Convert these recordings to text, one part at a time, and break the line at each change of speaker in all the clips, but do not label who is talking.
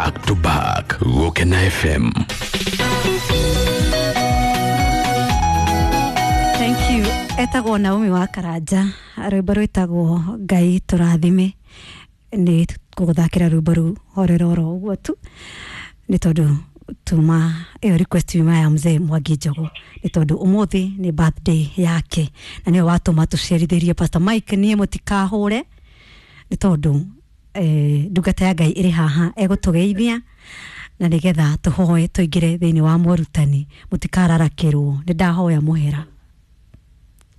Back to back Gukena FM.
Thank you. Etagwo Naomi wa Karanja, rwimbo rwitagwo Ngai tũrathime. Nĩ gũgũthakĩra rwimbo rũu horera oro ũguo tu, nĩ tondũ tuma ĩyo request yuma ya mzee Mwangi Njogu, nĩ tondũ ũmũthĩ nĩ birthday yake na nĩwe watũma tũcerithĩrie Pastor Mike. Niĩ mũtikahũre nĩ tondũ ndungata ya Ngai ĩrĩ haha egũtũgeithia na nĩgetha tũhoe tũingĩre thĩinĩ wa morutani, mũtikararakĩrwo nĩ ndahoya mũhera.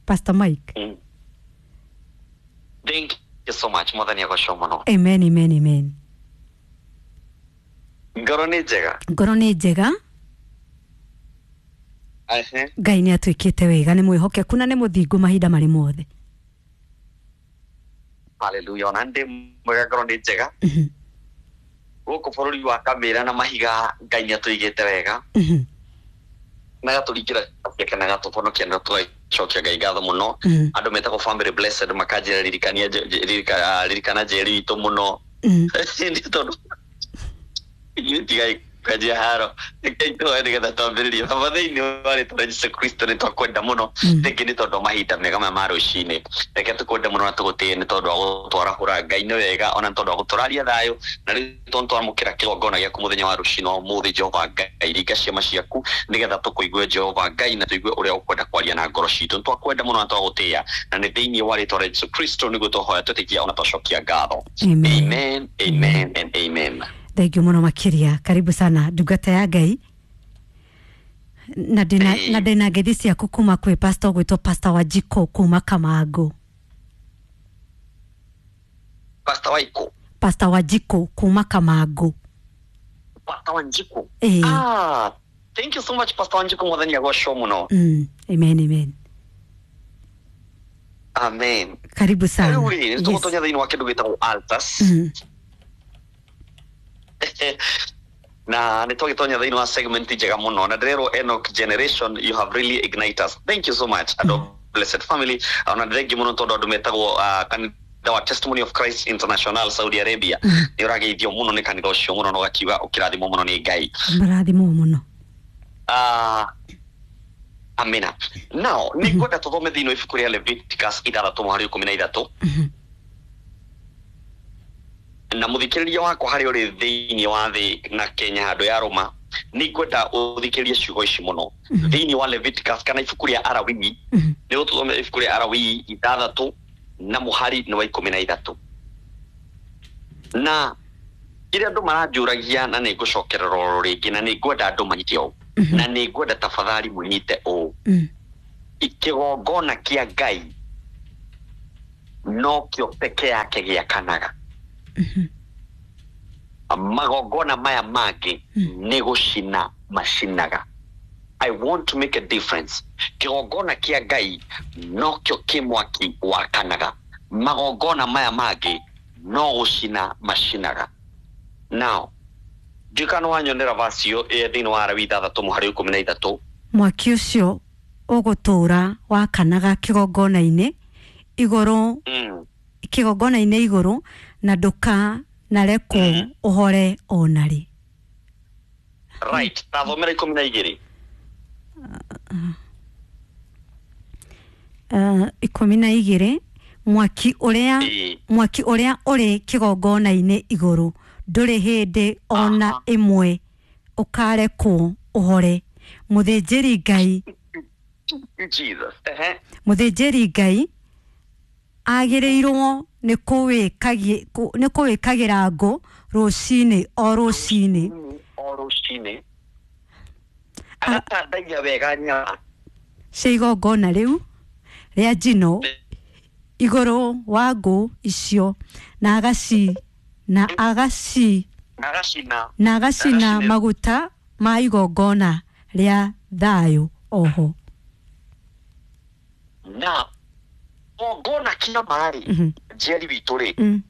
Pastor Mike.
Thank you so much. Mwathani agocwo mũno.
Amen, amen, amen.
Ngoro nĩ njega.
Ngoro nĩ njega.
Ehe.
Ngai nĩ atwĩkĩte wega, nĩ mwĩhokeku na nĩ mũthingu mahinda marĩ mothe.
Hallelujah. Ona ndĩ mwega, ngoro nĩ njega. Gũkũ bũrũri wa Kamĩra na mahiga Ngai nĩ atũigĩte wega. Na gatũringĩra ciake na gatũhonokia na tũgacokia Ngai ngatho mũno. Andũ metagwo Family Blessed makanjĩra ririkania ririkana njeri witũ mũno. Nĩ tondũ ithuĩ tigai kwanjia haro, reke tũhoe nĩgetha twambĩrĩrie. Baba, thĩinĩ wa rĩtwa rĩa Jesu Kristo, nĩ twakwenda mũno. Rĩngĩ nĩ tondũ wa mahinda mega maya ma rũcinĩ, reke tũkwende mũno na tũgũtĩe nĩ tondũ wa gũtwarahũra. Ngai nĩ wega, ona nĩ tondũ wa gũtũraria thayũ, na rĩu tondũ twamũkĩra kĩgongona gĩaku mũthenya wa rũcinĩ wa ũmũthĩ. Jehova Ngai, ringa ciama ciaku nĩgetha tũkũigue, Jehova Ngai, na tũigue ũrĩa ũkwenda kwaria na ngoro citũ. Nĩ twakwenda mũno na twagũtĩĩa, na nĩ thĩinĩ wa rĩtwa rĩa Jesu Kristo nĩguo twahoya, twĩtĩkia ona twacokia ngatho.
Amen.
Amen, amen and amen.
Thank you mũno makĩria. Karibu sana, ndungata ya Ngai, na ndĩna na ndĩna ngeithi ciaku kuma kwĩ pastor ũgwĩtwo Pastor Wanjikũ kuma Kamango.
Pastor Waiko?
Pastor Wanjikũ kuma Kamango.
Pastor Wanjiku?
Ĩĩ.
Ah, thank you so much, Pastor Wanjiku. Mwathani agocwo mũno.
Amen, amen.
Amen.
Karibu sana.
Rĩu rĩ, nĩ tũgũtonya thĩinĩ wa kĩndũ gĩtagwo altars, na nĩ twagĩtonya thĩinĩ wa segment njega mũno, na ndĩrerwo Enoch Generation, you have really ignited us. Thank you so much, andũ Blessed Family. Ona thengi mũno tondũ andũ metagwo kanitha wa Testimony of Christ International Saudi Arabia, nĩ ũrageithio mũno nĩ kanitha ũcio mũno na ũgakiuga ũkĩrathimwo mũno nĩ Ngai.
Marathimwo mũno.
Ah, amina. Now nĩ ngwenda tũthome thĩinĩ wa ibuku rĩa Leviticus 6 mũhari 13. Na mũthikĩrĩria wakwa, harĩa ũrĩ thĩinĩ wa thĩ na Kenya handũ ya Roma, nĩ ngwenda ũthikĩrĩrie ciugo ici mũno thĩinĩ wa Leviticus kana ibuku rĩa Arawii. Nĩ gũtũthomera ibuku rĩa Arawii 6 na mũhari nĩ wa 13. Na kĩrĩa andũ maranjũragia, na nĩ ngũcokerera oro rĩngĩ, na nĩ ngwenda andũ manyite ũũ, na nĩ ngwenda tafadhali mũnyite ũũ: kĩgongona kĩa Ngai nokĩo peke yake gĩakanaga. Magongona maya mangĩ nĩ gũcina macinaga. I want to make a difference. Kĩgongona kĩa Ngai nokĩo kĩ mwaki wakanaga, magongona maya mangĩ no gũcina macinaga. Now ndiũĩ kana wanyonera verse ĩyo ĩ thĩinĩ wa Arawi 6 mũhari 13.
Mwaki ũcio ũgũtũũra wakanaga kĩgongona-inĩ igũrũ, kĩgongona-inĩ igũrũ, na ndũkanarekwo ũhore ona rĩ.
Right, tathomera 12.
12, mwaki ũrĩa mwaki ũrĩa ũrĩ kĩgongona-inĩ igũrũ ndũrĩ hĩndĩ ona ĩmwe ũkarekwo ũhore. Mũthĩnjĩri Ngai
Jesus. Ehe.
Mũthĩnjĩri Ngai agĩrĩirwo nĩ kũwĩkagĩra ngũ rũcinĩ o rũcinĩ.
O rũcinĩ agatandaia wega nyama
cia igongona rĩu rĩa njino igũrũ wa ngũ icio na agaci na agaci
agacina
na agacina maguta ma igongona rĩa thayũ oho.
Na gongona kĩa marĩ njeri witũ rĩ,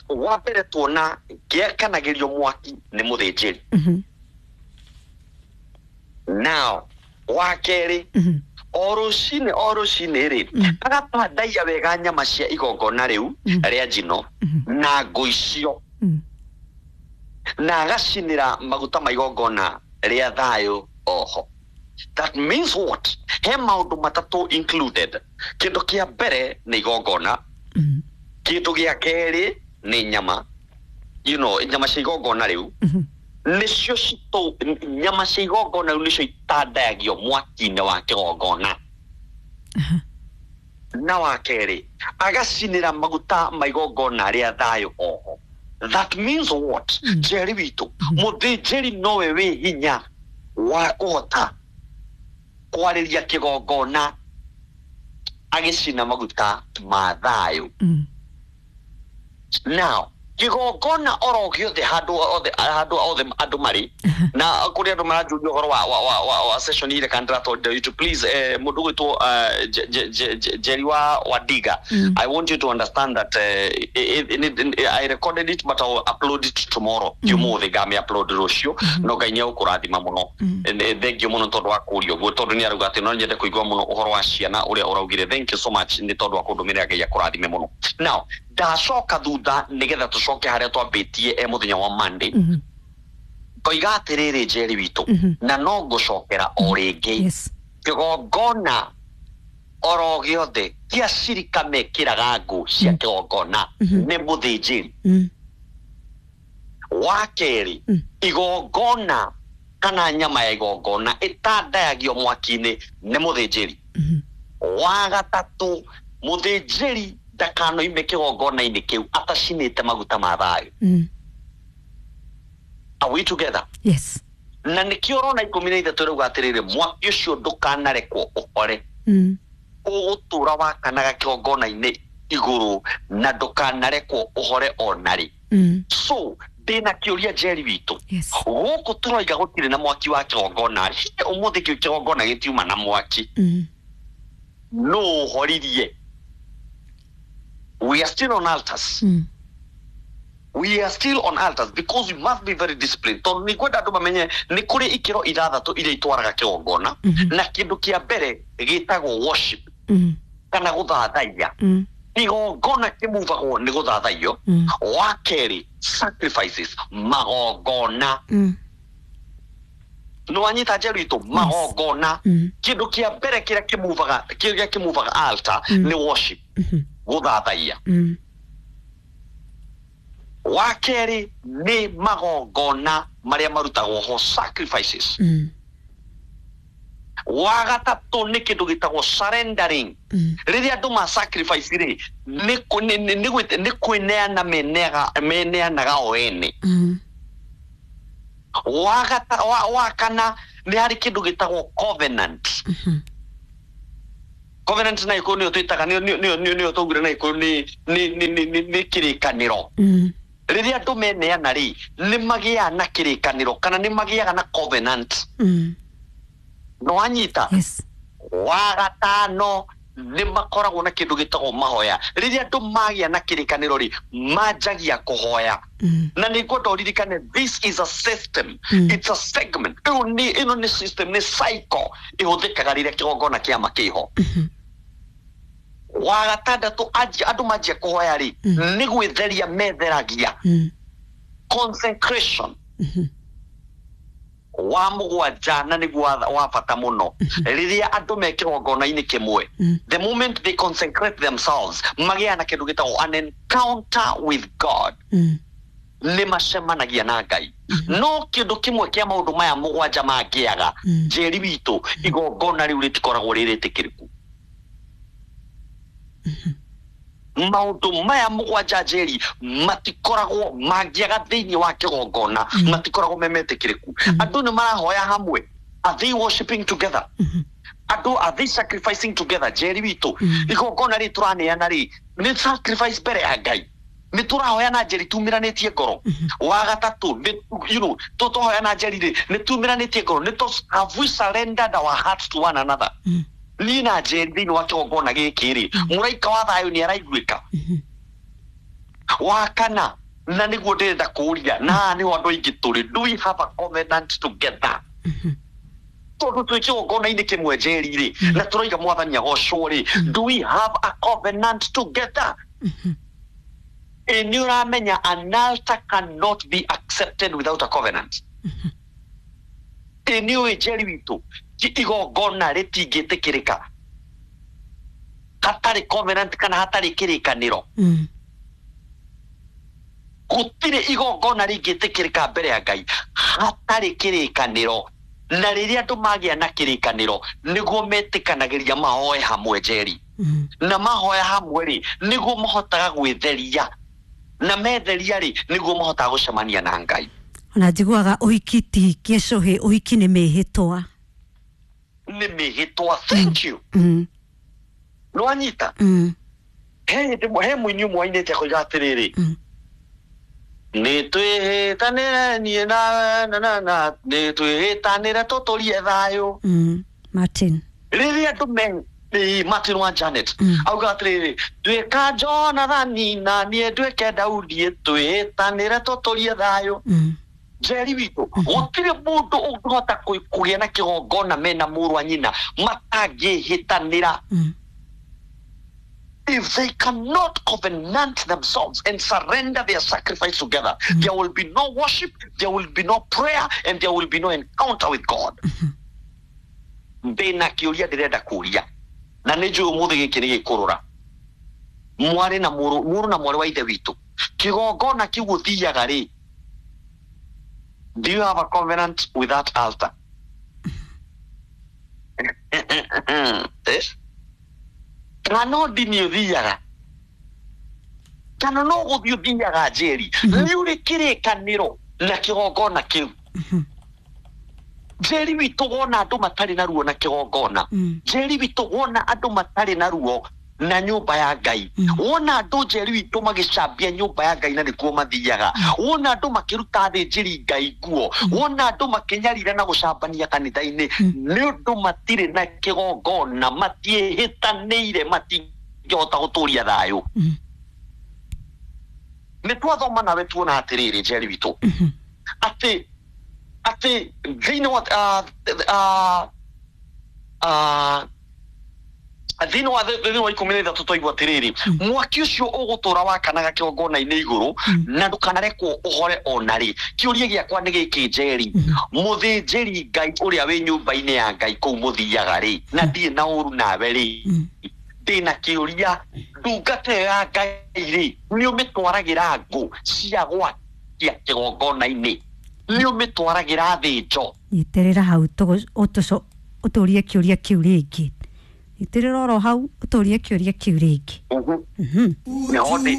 wa mbere tuona gĩakanagĩrio mwaki nĩ mũthĩnjĩri. Now wa kerĩ, o rũcinĩ o rũcinĩ rĩ, agatandaia wega nyama cia igongona rĩu rĩa njino na ngũ icio. Na agacinĩra maguta ma igongona rĩa thayũ oho. That means what? He maũndũ matatũ included. Kĩndũ kĩa mbere nĩ igongona, kĩndũ gĩa kerĩ nĩ nyama, you know, nyama cia igongona rĩu nĩcio citũ, nyama cia igongona rĩu nĩcio itandayagio mwaki-inĩ wa kĩgongona. Na wa kerĩ agacinĩra maguta ma igongona rĩa thayũ oho. That means what? Njeri witũ, mũthĩnjĩri nowe wĩ hinya wa kũhota kwarĩria kĩgongona agĩcina maguta ma thayũ. Now kĩgongona oro gĩothe, handũ othe, handũ othe andũ marĩ na kũrĩ andũ maranjũria ũhoro wa session ile kana ndĩratwarire YouTube, please, mũndũ ũgwĩtwo Jerry wa Wadiga, I want you to understand that I recorded it, but I will upload it tomorrow. Ũmũthĩ ngami upload rũciũ. No Ngai nĩ egũkũrathima mũno. Thank you mũno tondũ wa kũũria ũguo, tondũ nĩ arauga atĩ no nyende kũigua mũno ũhoro wa ciana ũrĩa ũraugire. Thank you so much nĩ tondũ wa kũndũmĩrĩra. Ngai akũrathime mũno. Now ndacoka thutha nĩgetha tũcoke harĩa twambĩtie e mũthenya wa Monday. Ngoiga atĩrĩrĩ, Njeri witũ, na no ngũcokera o rĩngĩ, kĩgongona oro gĩothe kĩa cirika mekĩraga ngũ cia kĩgongona nĩ mũthĩnjĩri. Wa kerĩ, igongona kana nyama ya igongona ĩtandayagio mwaki-inĩ nĩ mũthĩnjĩri. Wa gatatũ, mũthĩnjĩri ndakanoime kĩgongona-inĩ kĩu atacinĩte maguta ma thayũ. Are we together?
Yes.
Na nĩkĩo ũrona 13 ĩrauga atĩrĩrĩ, mwaki ũcio ndũkanarekwo ũhore, ũgũtũra wakanaga kĩgongona-inĩ igũrũ na ndũkanarekwo ũhore ona rĩ. So ndĩna kĩũria, Njeri witũ. Gũkũ tũroiga gũtirĩ na mwaki wa kĩgongona. Hihi ũmũthĩ kĩu kĩgongona gĩtiuma na mwaki? No ũhoririe? We are still on altars. We are still on altars because we must be very disciplined, tondũ nĩ ngwenda andũ mamenye nĩ kũrĩ ikĩro ithathatũ iria itwaraga kĩgongona, na kĩndũ kĩa mbere gĩtagwo worship kana gũthathaiya. Igongona kĩmuvagwo nĩ gũthathaiyo. Wa kerĩ, sacrifices, magongona. Nĩ wanyita, Njeru itũ? Magongona. Kĩndũ kĩa mbere kĩrĩa kĩmuvaga altar nĩ worship, gũthathaiya. Wa kerĩ nĩ magongona marĩa marutagwo ho, sacrifices. Wa gatatũ nĩ kĩndũ gĩtagwo surrendering. Rĩrĩa andũ ma sacrifice rĩ, nĩ kwĩneana meneanaga o ene. Wa kana nĩ harĩ kĩndũ gĩtagwo covenant. Covenant na gĩkũyũ nĩyo twĩtaga, nĩyo twaugire na gĩkũyũ nĩ kĩrĩkanĩro. Rĩrĩa andũ meneana rĩ, nĩ magĩaga na kĩrĩkanĩro kana nĩ magĩaga na covenant. No wanyita?
Yes.
Wa gatano nĩ makoragwo na kĩndũ gĩtagwo mahoya. Rĩrĩa andũ magĩa na kĩrĩkanĩro rĩ, manjagia kũhoya. Na nĩ ngwenda ũririkane, this is a system. It's a segment. Ĩyo nĩ ĩno nĩ system, nĩ cycle ĩhũthĩkaga rĩrĩa kĩgongona kĩama kĩho. Wa gatandatũ, andũ manjia kũhoya rĩ, nĩ gwĩtheria metheragia, consecration. Wa mũgwanja, na nĩguo wa bata mũno, rĩrĩa andũ me kĩgongona-inĩ kĩmwe, the moment they consecrate themselves, magĩaga na kĩndũ gĩtagwo an encounter with God. Nĩ macemanagia na Ngai. No kĩndũ kĩmwe kĩa maũndũ maya mũgwanja mangĩaga, Njeri witũ, igongona rĩu rĩtikoragwo rĩ rĩtĩkĩrĩku. Maũndũ maya mũgwanja, Njeri, matikoragwo mangĩaga thĩinĩ wa kĩgongona, matikoragwo me metĩkĩrĩku. Andũ nĩ marahoya hamwe? Are they worshiping together? Andũ, are they sacrificing together? Njeri witũ, igongona rĩ tũraneana rĩ, nĩ sacrifice mbere ya Ngai? Nĩ tũrahoya na Njeri tumĩranĩtie ngoro? Wa gatatũ nĩ tũhoya na Njeri rĩ, nĩ tumĩranĩtie ngoro? Nĩ have we surrendered our hearts to one another? Niĩ na Njeri thĩinĩ wa kĩgongona gĩkĩ rĩ, mũraika wa thayũ nĩ araiguĩka? Wa kana, na nĩguo ndĩrenda kũũria, na haha nĩho andũ aingĩ tũrĩ, do we have a covenant together? Tondũ twĩ kĩgongona-inĩ kĩmwe, Njeri rĩ, na tũraiga Mwathani agocwo rĩ, do we have a covenant together? Ĩ nĩ ũramenya an altar cannot be accepted. accepted without a covenant. Ĩ nĩ ũĩ Njeri witũ, igongona rĩtingĩtĩkĩrĩka hatarĩ covenant kana hatarĩ kĩrĩkanĩro. Gũtirĩ igongona rĩngĩtĩkĩrĩka mbere ya Ngai hatarĩ kĩrĩkanĩro. Na rĩrĩa andũ magĩa na kĩrĩkanĩro nĩguo metĩkanagĩria mahoe hamwe, Njeri. Na mahoya hamwe rĩ, nĩguo mahotaga gwĩtheria, na metheria rĩ, nĩguo mahotaga gũcemania na Ngai.
Ona njiguaga ũhiki ti gĩcũhĩ, ũhiki nĩ mĩhĩtwa.
Nĩ mĩhĩtwa, thank you. Nĩwanyita? He hĩndĩ he mũini ũmwe ainĩte akoiga atĩrĩrĩ, nĩ twĩhĩtanĩre niĩ nawe na na na nĩ twĩhĩtanĩre tũtũrie thayũ.
Martin.
Rĩrĩa andũ me Martin wa Janet auga atĩrĩrĩ, tuĩka Jonathani na niĩ nduĩke Daudi, twĩhĩtanĩre tũtũrie thayũ. Njeri witũ, gũtirĩ mũndũ ũngĩhota kũgĩa na kĩgongona mena mũrũ wa nyina matangĩhĩtanĩra. If they cannot covenant themselves and surrender their sacrifice together, there will be no worship, there will be no prayer, and there will be no encounter with God. Ndĩna kĩũria ndĩrenda kũria, na nĩ njũĩ ũmũthĩ gĩkĩ nĩ gĩkũrũra mwarĩ na mũrũ, mũrũ na mwarĩ wa ithe witũ. Kĩgongona kĩu ũthiaga rĩ, do you have a covenant with that altar? Eh? Kana no ndini ũthiaga, kana no gũthiĩ ũthiaga, Njeri, nĩ ũrĩ kĩrĩkanĩro na kĩgongona kĩu? Njeri witũ, wona andũ matarĩ na ruo na kĩgongona, Njeri witũ, wona andũ matarĩ na ruo na nyũmba ya Ngai, wona andũ, Njeri witũ, magĩcambia nyũmba ya Ngai na nĩkuo mathiaga, wona andũ makĩruta athĩnjĩri Ngai nguo, wona andũ makĩnyarira na gũcambania kanitha-inĩ, nĩ ũndũ matirĩ na kĩgongona, matiĩhĩtanĩire, matingĩhota gũtũria thayũ. Nĩ twathoma nawe tuona atĩrĩrĩ, Njeri witũ, atĩ thĩinĩ wa thĩinĩ wa 13 twaigua atĩrĩrĩ, mwaki ũcio ũgũtũra wakanaga kĩgongona-inĩ igũrũ na ndũkanarekwo ũhore ona rĩ. Kĩũria gĩakwa nĩ gĩkĩ, Njeri, mũthĩnjĩri Ngai ũrĩa wĩ nyũmba-inĩ ya Ngai kũu mũthiaga rĩ, na ndirĩ na ũru nawe rĩ, ndĩna kĩũria, ndungata ĩyo ya Ngai rĩ, nĩ ũmĩtwaragĩra ngũ cia gwakia kĩgongona-inĩ? Nĩ ũmĩtwaragĩra thĩnjo?
Nyitĩrĩra hau ũtũrie kĩũria kĩu rĩngĩ. Nyitĩrĩra oro hau ũtũrie kĩũria kĩu rĩngĩ.
Nĩho ndĩ.